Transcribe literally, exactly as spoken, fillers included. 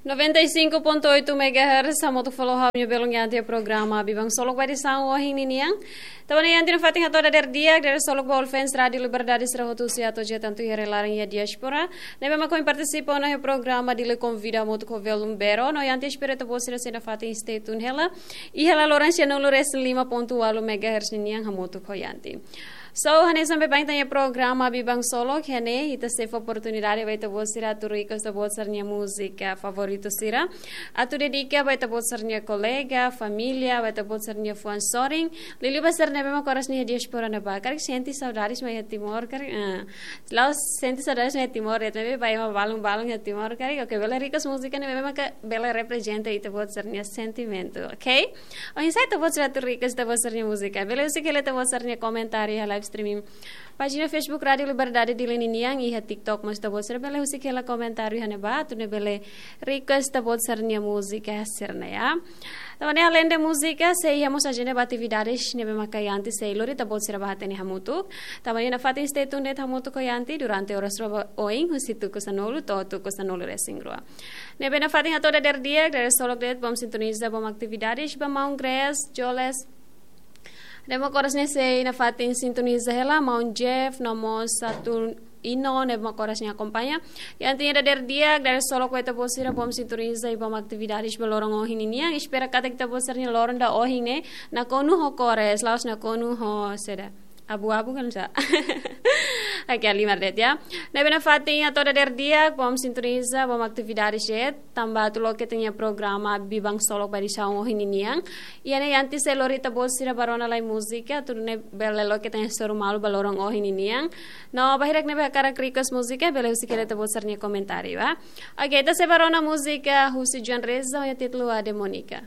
Noventa e cinco ponto oito megahertz, hamutuk fali ho ha'u-nia belun Yanti, programa Biban Solok ba edisaun ohin ninian. Tanba ne'e Yanti nafatin hato'o dadeer di'ak, dadeer solok ba all fans Rádio Liberdade sira hotu husi atu je tantu iha rai-laran iha diáspora ne'ebé mak ohin partisipa ona iha programa Dili Konvida hamutuk ho Velum Bero. No Yanti espera ita-boot sira sei nafatin stay tune hela iha la loran sianulu-resin-lima ponto ualu megahertz ninian hamutuk ho Yanti. So, hanesan baibain ita-nia programa Biban Solok, iha ne'e ita sei fó oportunidade ba ita-boot sira atu request ita-boot sira-nia múzika favoritu sira. Atu dedika ba ita-boot sira-nia kolega, família, ba ita-boot sira-nia fuan sorin. Liuliu ba sira ne'ebé mak oras ne'e iha diáspora ne'ebá. Karik sente saudades mai iha Timor, karik, ah, la'ós sente saudades mai iha Timor, ya, tapi ba ema balun-balun iha Timor, karik, oke, bele request múzika ne'ebé mak bele reprezenta ita-boot sira-nia sentimentu, oke? Oinsá ita-boot sira atu request ita-boot sira-nia múzika? Bele husik hela ita-boot sira-nia komentáriu iha live streaming pájina Facebook Rádio Liberdade Dili ninian, iha TikTok mós ita-boot sira bele husik hela komentáriu iha ne'ebá, atu nune'e bele request ita-boot sira-nia múzika sira-ne'e, ya. Tanba ne'e aleinde múzika, sei iha mós ajenda ba atividades ne'ebé maka Yanti sei lori ita-boot sira ba hatene hamutuk. Tanba ne'e nafatin stay tuned hamutuk ho Yanti durante oras rua ba oin, husi tuku sanulu to'o tuku sanulu-resin-rua. Ne'ebé nafatin hato'o dadeer di'ak, dadeer solok de'it, bom sintoniza, bom atividades ba maun Grace Joles. Ne'ebé mak oras ne'e sei nafatin sintoniza hela, maun Jeff, no mós Saturnino, ne'ebé mak oras ne'e akompaña. Yanti nia dadeer di'ak, dadeer solok ba ita-boot sira, bom sintoniza i bom atividades ba loron ohin ninian. Espera katak ita-boot sira-nia loron ida ohin ne'e nakonu ho kores, la'ós nakonu ho saida, abu-abu ka lae. Oke, halimar de'it, ya. Ne'ebé nafatin hato'o dadeer di'ak, bom sintoniza, bom atividades de'it, tanba atu loke ita-nia programa Biban Solok ba edisaun ohin ninian. Iha ne'e Yanti sei lori ita-boot sira ba rona lai múzika, atu nune'e bele loke ita-nia hasoru malu ba loron ohin ninian. No ba hirak ne'ebé hakarak request múzika, bele husik hela ita-boot sira-nia komentáriu, ya. Oke, ita sei ba rona múzika husi Joan Reza, ho títulu A Demónica.